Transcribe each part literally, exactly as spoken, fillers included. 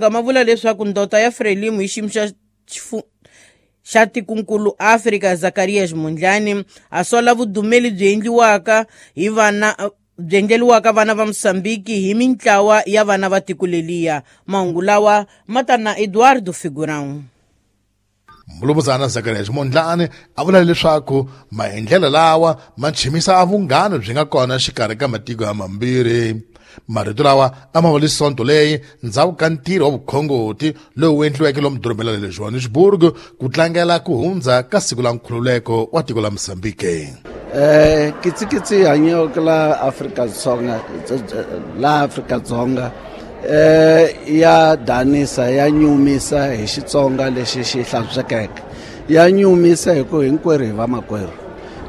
Ma vula leswaku ndota ya Frelimo hi xiyimo xa xa tikunkulu Afrika Zacarias Mondlane a sola vudumeli byi endliwaka hi vana byi endleriwaka vana va Mosambiki hi mintlawa ya vana va tiko leliya. Mahungu lawa ma ta na Eduardo Figurão. Mulumuzana Zacarias Mondlane a vula leswaku maendlelo lawa ma chimisa vunghana byi nga kona xikarhi ka matiko ya mambirhi. Marito lawa a ma vuli sonto leyi ndzhaku ka ntirho wa vukhongoti lowu endliweke lomu dorobeni ra le Johannesburg ku tlangela ku hundza ka siku la nkhululeko wa tiko la Mozambique. Eh kitsikitsi hanyeke la Afrika-Dzonga la Afrika-Dzonga eh ya danisa ya nyumisa hi Xitsonga lexi xi hlantswekeke ya nyumisa hi ku hinkwerhu hi vamakwerhu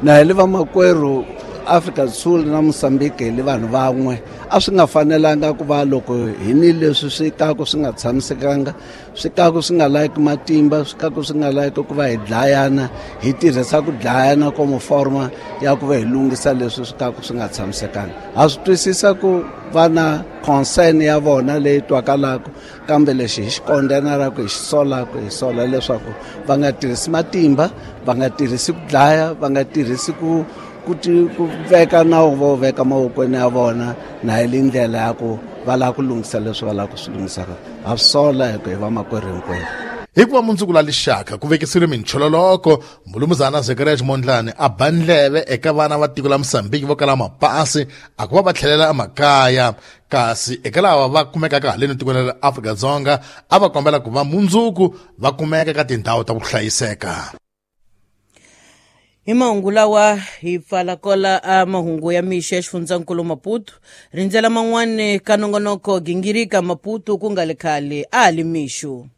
na hi le vamakwerhu Afrika Sul na Mozambique hi le vanhu van'we a swi nga fanelanga ku va loko hi ni leswi swi kaku swi nga tshamisekanga swi kaku swi nga laiki matimba swi kaku swi nga laiki ku va hi dlayana hi tirhisa ku dlayana komo forma ya ku va hi lunghisa leswi swi kaku swi nga tshamisekanga. Ha swi twisisa ku va na concern ya vona leyi twakalaka kambe lexi hi xi kondenaraka hi xi solaka hi sola leswaku va nga tirhisi matimba va nga tirhisi ku dlaya va nga tirhisi ku ku ku veka nawu vo veka mavokweni ya vona na hi le ndlela ya ku va lava ku lunghisa leswi va lava ku swi lunghisaka. Ha swi sola hi ku hi vamakwerhu hinkwerhu. Hikuva mundzuku la lixaka ku vekisiwile minchololoko Mulumuzana Zacarias Mondlane a ba ndleve eka vana va tiko la Mozambique vo kala mapasi a ku va va tlhelela emakaya kasi eka lava va kumekaka haleni tikweni ra Afrika-Dzonga a va kombela ku va mundzuku va kumeka ka tindhawu ta ku hlayiseka. Hi mahungu lawa hi pfala kola a mahungu ya mixo ya xifundzankulu Maputo. Rindzela man'wani ka nongonoko gingirika Maputo ku nga le khale a ha li mixo.